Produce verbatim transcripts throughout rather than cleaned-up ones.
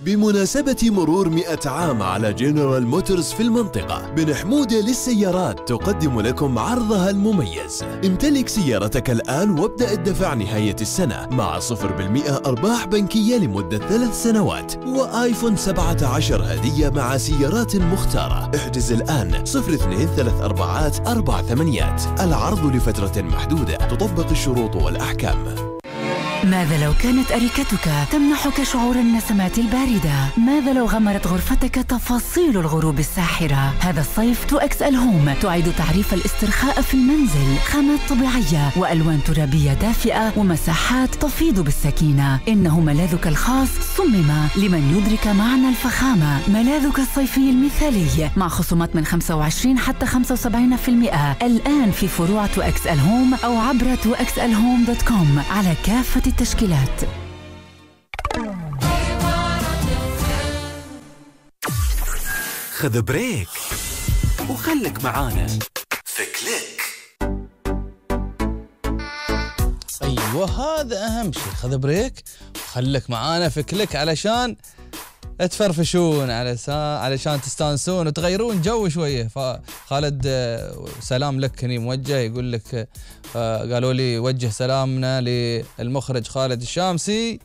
بمناسبة مرور مئة عام على جنرال موتورز في المنطقة، بن حمودة للسيارات تقدم لكم عرضها المميز. امتلك سيارتك الآن وابدأ الدفع نهاية السنة مع صفر بالمئة أرباح بنكية لمدة ثلاث سنوات وآيفون سبعة عشر هدية مع سيارات مختارة. احجز الآن صفر اثنين ثلاث أربعات أربع ثمانيات. العرض لفترة محدودة، تطبق الشروط والأحكام. ماذا لو كانت أريكتك تمنحك شعور النسمات الباردة؟ ماذا لو غمرت غرفتك تفاصيل الغروب الساحرة؟ هذا الصيف تو إكس إل هوم تعيد تعريف الاسترخاء في المنزل، خامات طبيعية وألوان ترابية دافئة ومساحات تفيض بالسكينة. إنه ملاذك الخاص صمم لمن يدرك معنى الفخامة. ملاذك الصيفي المثالي مع خصومات من خمسة وعشرين حتى خمسة وسبعين بالمئة الآن في فروع تو إكس إل هوم أو عبر تو إكس إل هوم دوت كوم على كافة التشكيلات. خذ بريك وخلك معانا في كليك. ايوه هذا اهم شيء، خذ بريك وخلك معانا في كليك علشان تفرفشون، علشان تستانسون وتغيرون جو شويه. فخالد سلام لك هني موجه، يقول لك قالوا لي وجه سلامنا للمخرج خالد الشامسي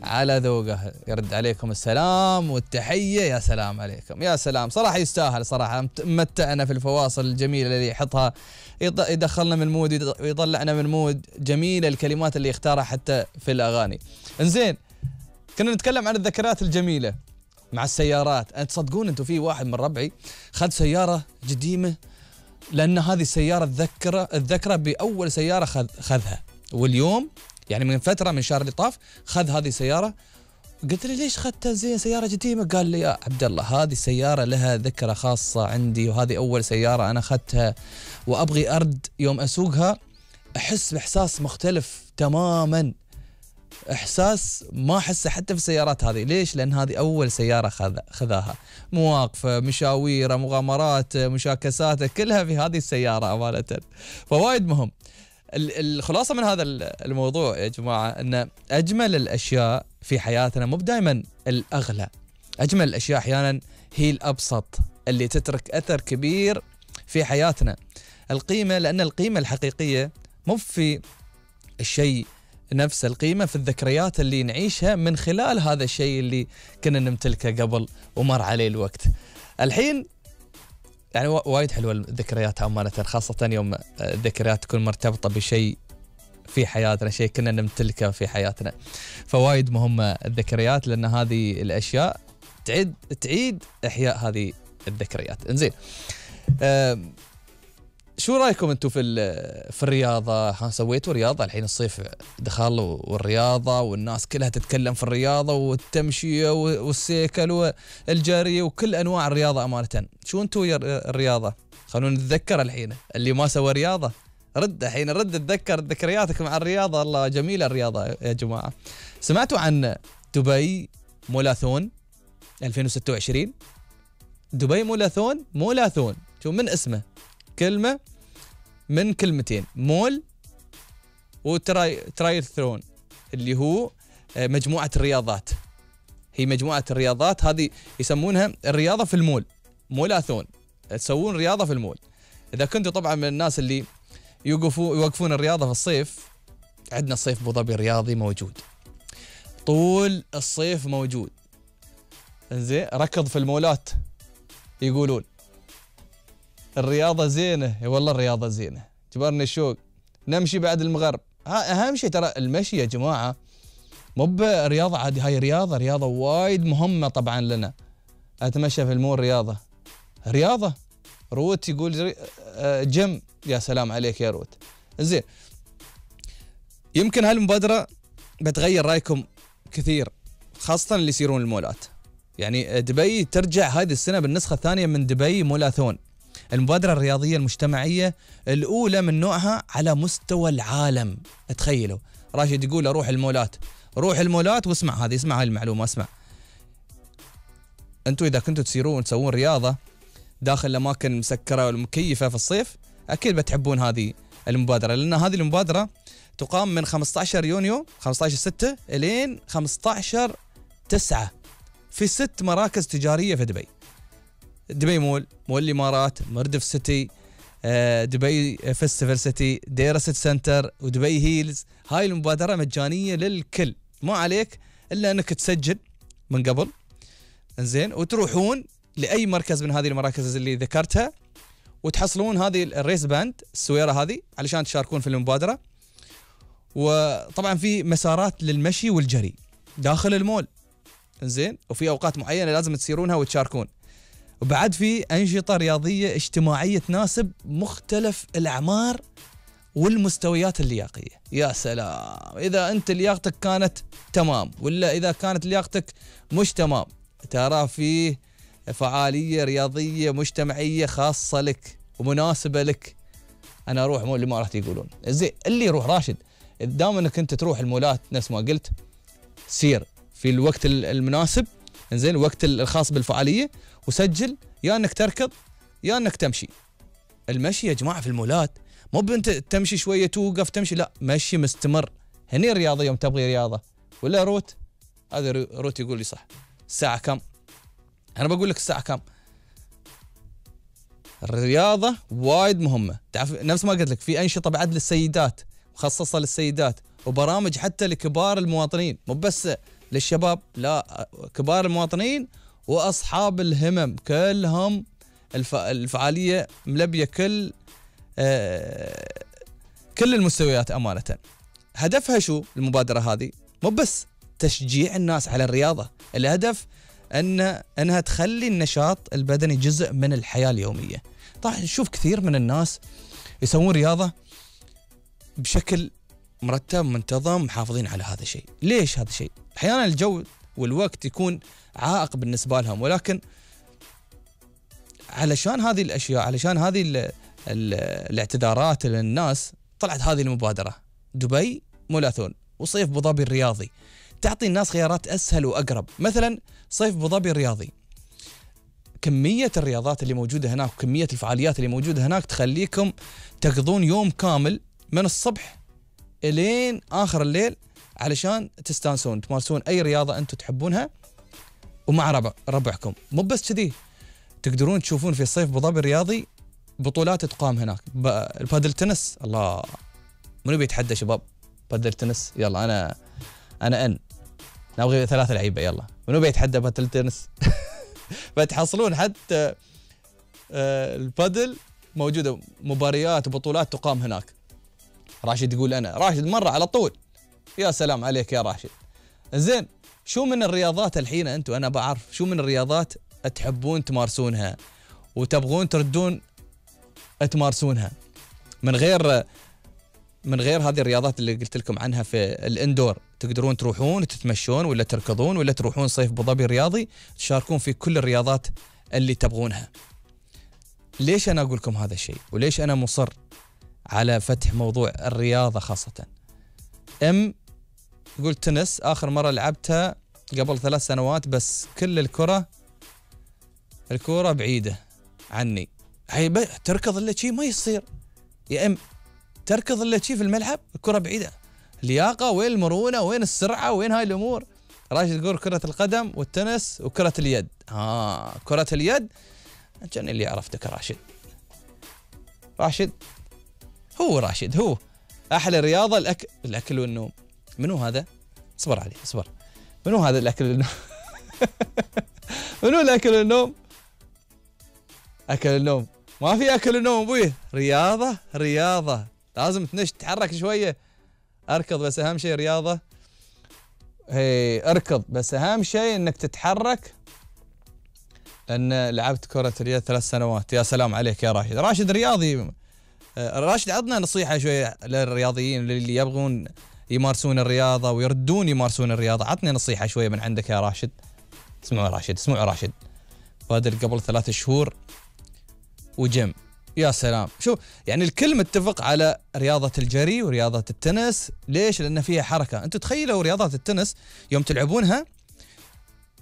على ذوقه، يرد عليكم السلام والتحيه. يا سلام عليكم، يا سلام، صراحه يستاهل، صراحه متعنا في الفواصل الجميله اللي يحطها، يدخلنا من مود ويطلعنا من مود جميله، الكلمات اللي يختارها حتى في الاغاني. انزين، كنا نتكلم عن الذكريات الجميله مع السيارات. أنت تصدقون أنتم في واحد من ربعي خذ سيارة قديمة، لأن هذه السيارة الذكرى الذكرى بأول سيارة خذ خذها، واليوم يعني من فترة من شهر اللي طاف خذ هذه السيارة. قلت له ليش خذتها زين سيارة قديمة؟ قال لي يا عبد الله هذه السيارة لها ذكرى خاصة عندي، وهذه أول سيارة أنا أخذتها، وأبغي أرد يوم أسوقها أحس بإحساس مختلف تماماً، إحساس ما أحسه حتى في السيارات هذه. ليش؟ لأن هذه أول سيارة خذاها، مواقفة، مشاويره، مغامرات، مشاكسات، كلها في هذه السيارة أمانة. فوايد مهم. الخلاصة من هذا الموضوع يا جماعة أن أجمل الأشياء في حياتنا مو دائما الأغلى، أجمل الأشياء أحيانا هي الأبسط اللي تترك أثر كبير في حياتنا. القيمة، لأن القيمة الحقيقية مو في الشيء نفس، القيمة في الذكريات اللي نعيشها من خلال هذا الشيء اللي كنا نمتلكه قبل ومر عليه الوقت. الحين يعني وايد حلوة الذكريات أمانة، خاصة يوم الذكريات تكون مرتبطة بشيء في حياتنا، شيء كنا نمتلكه في حياتنا. فوايد مهمة الذكريات، لأن هذه الأشياء تعيد تعيد إحياء هذه الذكريات. إنزين، أه شو رايكم انتم في في الرياضه؟ سويتوا رياضه؟ الحين الصيف دخل والرياضه والناس كلها تتكلم في الرياضه والتمشيه والسيكل والجري وكل انواع الرياضه امانه. شو انتم الرياضه؟ خلونا نتذكر الحين اللي ما سوى رياضه، رد الحين رد تذكر ذكرياتك مع الرياضه. الله جميله الرياضه يا جماعه. سمعتوا عن دبي مولاثون ألفين وستة وعشرين؟ دبي مولاثون، مولاثون شو من اسمه، كلمة من كلمتين، مول وتراي ترايثلون، اللي هو مجموعة الرياضات. هي مجموعة الرياضات هذه يسمونها الرياضة في المول، مولاثون، تسوون رياضة في المول. إذا كنتوا طبعا من الناس اللي يوقفوا يوقفون الرياضة في الصيف، عندنا الصيف أبو ظبي رياضي موجود طول الصيف موجود. زين، ركض في المولات، يقولون الرياضة زينة. والله الرياضة زينة، جبرني الشوق، نمشي بعد المغرب. ها أهم شيء ترى المشي يا جماعة، مو برياضة عادي، هاي رياضة رياضة وايد مهمة طبعا لنا. أتمشى في المول رياضة، رياضة. روت يقول جيم، يا سلام عليك يا روت. زين، يمكن هالمبادرة بتغير رأيكم كثير، خاصة اللي يصيرون المولات. يعني دبي ترجع هذه السنة بالنسخة الثانية من دبي مولاثون، المبادرة الرياضية المجتمعية الأولى من نوعها على مستوى العالم. تخيلوا، راشد يقول أروح المولات، روح المولات واسمع هذه، اسمع هاي المعلومة، اسمع. أنتوا إذا كنتوا تسيرون تسوون رياضة داخل الأماكن مسكرة والمكيفة في الصيف، أكيد بتحبون هذه المبادرة، لأن هذه المبادرة تقام من خمسة عشر يونيو خمسة عشر ستة إلين خمسة عشر تسعة في ست مراكز تجارية في دبي. دبي مول، مول الإمارات، مردف سيتي، دبي فيستيفال سيتي، ديرا سيتي سنتر، ودبي هيلز. هاي المبادرة مجانية للكل، ما عليك إلا أنك تسجل من قبل، إنزين، وتروحون لأي مركز من هذه المراكز اللي ذكرتها، وتحصلون هذه الريس باند السويرة هذه علشان تشاركون في المبادرة. وطبعا في مسارات للمشي والجري داخل المول، إنزين، وفي أوقات معينة لازم تسيرونها وتشاركون. وبعد في أنشطة رياضية اجتماعية تناسب مختلف الأعمار والمستويات اللياقية. يا سلام إذا أنت لياقتك كانت تمام، ولا إذا كانت لياقتك مش تمام، ترى فيه فعالية رياضية مجتمعية خاصة لك ومناسبة لك. أنا أروح مول الإمارات يقولون زين، اللي يروح راشد دام أنك أنت تروح المولات نفس ما قلت، سير في الوقت المناسب، إنزين، الوقت الخاص بالفعالية، وسجل يا أنك تركض يا أنك تمشي. المشي يا جماعة في المولات مو بنت تمشي شوية توقف تمشي، لا، مشي مستمر. هني الرياضة يوم تبغي رياضة. ولا روت؟ هذا روت يقول لي صح. الساعة كم؟ أنا بقول لك الساعة كم. الرياضة وايد مهمة، تعرف نفس ما قلت لك في أنشطة بعد للسيدات مخصصة للسيدات، وبرامج حتى لكبار المواطنين، مو بس للشباب، لا، كبار المواطنين وأصحاب الهمم كلهم. الف... الفعالية ملبية كل آه... كل المستويات أمانة. هدفها شو المبادرة هذه؟ مو بس تشجيع الناس على الرياضة، الهدف أن أنها تخلي النشاط البدني جزء من الحياة اليومية. طبعا نشوف كثير من الناس يسوون رياضة بشكل مرتب منتظم، محافظين على هذا الشيء. ليش هذا الشيء؟ أحيانا الجو والوقت يكون عائق بالنسبة لهم، ولكن علشان هذه الأشياء، علشان هذه ال ال الاعتذارات للناس، طلعت هذه المبادرة دبي مولاثون وصيف أبو ظبي الرياضي، تعطي الناس خيارات أسهل وأقرب. مثلا صيف أبو ظبي الرياضي، كمية الرياضات اللي موجودة هناك وكمية الفعاليات اللي موجودة هناك تخليكم تقضون يوم كامل من الصبح إلين آخر الليل علشان تستانسون، تمارسون أي رياضة أنتم تحبونها ومع ربع ربعكم. مو بس كذي، تقدرون تشوفون في الصيف أبو ظبي الرياضي بطولات تقام هناك. البادل تنس، الله، منو بيتحدى شباب بادل تنس؟ يلا أنا أنا أن نبغي ثلاثة لعيبة، يلا منو بيتحدى بادل تنس؟ فتحصلون حتى البادل موجودة مباريات وبطولات تقام هناك. راشد يقول أنا راشد مرة على طول. يا سلام عليك يا راشد. زين، شو من الرياضات الحين أنتم، أنا بعرف شو من الرياضات تحبون تمارسونها وتبغون تردون تمارسونها من غير من غير هذه الرياضات اللي قلت لكم عنها في الاندور. تقدرون تروحون تتمشون ولا تركضون ولا تروحون صيف أبو ظبي الرياضي، تشاركون في كل الرياضات اللي تبغونها. ليش أنا أقول لكم هذا الشيء وليش أنا مصر على فتح موضوع الرياضة خاصة؟ ام قلت تنس آخر مرة لعبتها قبل ثلاث سنوات، بس كل الكرة الكرة بعيدة عني. هي تركض إلا شيء ما يصير يا ام، تركض إلا شيء في الملعب، الكرة بعيدة. اللياقة وين المرونة وين السرعة وين هاي الأمور؟ راشد يقول كرة القدم والتنس وكرة اليد. ها كرة اليد كان اللي عرفتك راشد. راشد هو راشد هو أحلى رياضة الأكل الأكل والنوم. منو هذا؟ اصبر علي اصبر. منو هذا الأكل والنوم؟ منو الأكل والنوم؟ أكل النوم ما في أكل النوم أبوي. رياضة رياضة لازم تنش تتحرك شوية. أركض بس أهم شيء رياضة. هي أركض بس أهم شيء إنك تتحرك، لأن لعبت كرة اليد ثلاث سنوات. يا سلام عليك يا راشد. راشد رياضي. راشد عطنا نصيحة شوية للرياضيين اللي يبغون يمارسون الرياضة ويردون يمارسون الرياضة. عطني نصيحة شوية من عندك يا راشد. اسمعوا راشد اسمعوا راشد بادر قبل ثلاث شهور وجيم. يا سلام. شو يعني الكل متفق على رياضة الجري ورياضة التنس. ليش؟ لأن فيها حركة. أنتوا تخيلوا رياضة التنس يوم تلعبونها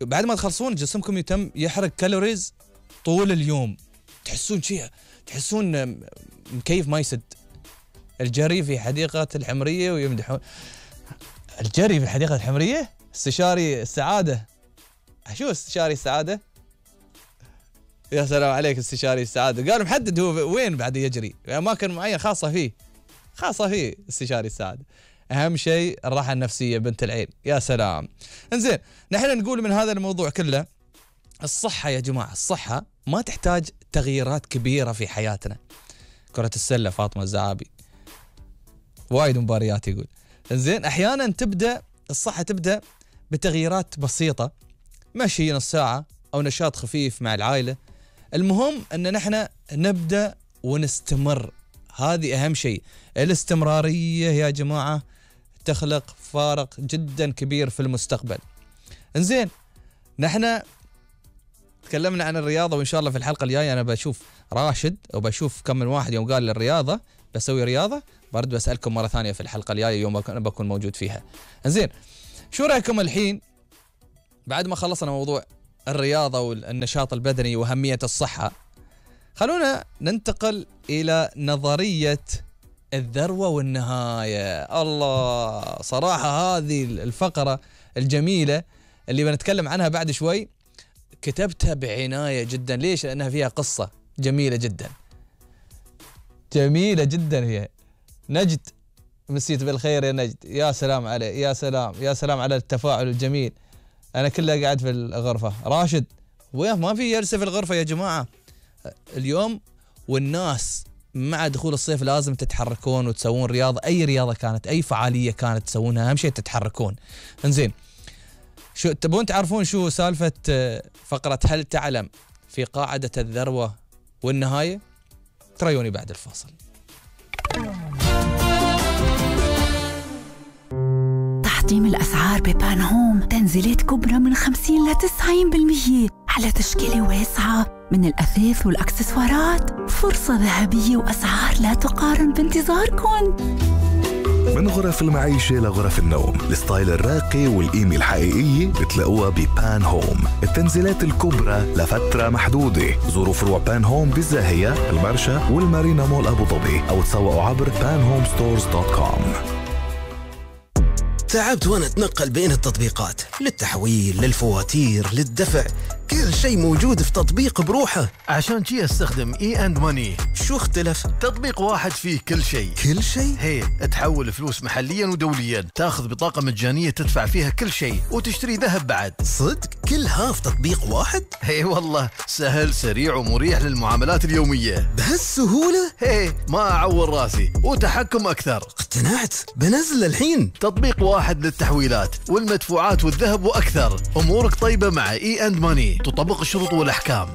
بعد ما تخلصون جسمكم يتم يحرق كالوريز طول اليوم، تحسون شيء، تحسون مكيف ما يسد. الجري في حديقة الحمرية ويمدحون الجري في الحديقة الحمرية. استشاري السعادة شو استشاري السعادة؟ يا سلام عليك استشاري السعادة. قال محدد هو وين بعد يجري، أماكن معينة خاصة فيه، خاصة فيه استشاري السعادة. أهم شيء الراحة النفسية بنت العين. يا سلام. انزين، نحن نقول من هذا الموضوع كله الصحة يا جماعة، الصحة ما تحتاج تغييرات كبيرة في حياتنا. كرة السلة فاطمة الزعابي وايد مباريات يقول. انزين، أحيانا تبدأ الصحة تبدأ بتغييرات بسيطة، مشي نص ساعة أو نشاط خفيف مع العائلة. المهم أن نحن نبدأ ونستمر، هذه أهم شيء. الاستمرارية يا جماعة تخلق فارق جدا كبير في المستقبل. انزين، نحن تكلمنا عن الرياضة، وإن شاء الله في الحلقة الجاية أنا بشوف راشد وبشوف كم من واحد يوم قال للرياضة بسوي رياضة، برد بسألكم مرة ثانية في الحلقة الجاية يوم أنا بكون موجود فيها. انزين، شو رأيكم الحين بعد ما خلصنا موضوع الرياضة والنشاط البدني وأهمية الصحة، خلونا ننتقل إلى نظرية الذروة والنهاية. الله، صراحة هذه الفقرة الجميلة اللي بنتكلم عنها بعد شوي كتبتها بعناية جدا. ليش؟ لأنها فيها قصة جميلة جدا، جميلة جدا. هي نجد، مسيت بالخير يا نجد، يا سلام عليه، يا سلام يا سلام على التفاعل الجميل. أنا كله قاعد في الغرفة. راشد وين؟ ما في جلسة في الغرفة يا جماعة اليوم. والناس مع دخول الصيف لازم تتحركون وتسوون رياضة، أي رياضة كانت، أي فعالية كانت تسوونها، أهم شيء تتحركون. انزين، شو تبون تعرفون شو سالفة فقرة هل تعلم في قاعدة الذروة والنهاية؟ تريوني بعد الفاصل. تحطيم الأسعار ببان هوم، تنزيلات كبرى من خمسين إلى تسعين بالمئة على تشكيلة واسعة من الأثاث والأكسسوارات. فرصة ذهبية وأسعار لا تقارن بانتظاركم. من غرف المعيشة لغرف النوم، الستايل الراقي والقيمة الحقيقية بتلاقوها ببان هوم. التنزيلات الكبرى لفترة محدودة. زوروا فروع بان هوم بالزاهية، المرشا والمارينا مول أبو ظبي، أو تسوقوا عبر بان هوم ستورز دوت كوم. تعبت وانا اتنقل بين التطبيقات، للتحويل، للفواتير، للدفع، كل شيء موجود في تطبيق بروحه. عشان شي استخدم اي اند ماني. شو اختلف؟ تطبيق واحد فيه كل شيء. كل شيء؟ هي تحول فلوس محليا ودوليا، تاخذ بطاقة مجانية تدفع فيها كل شيء، وتشتري ذهب بعد. صدق؟ كلها في تطبيق واحد؟ هي والله سهل، سريع ومريح للمعاملات اليومية. بهالسهولة؟ هي ما اعور راسي، وتحكم اكثر. اقتنعت، بنزل الحين. تطبيق واحد للتحويلات والمدفوعات والذهب واكثر. امورك طيبة مع اي اند ماني، تطبق الشروط والاحكام.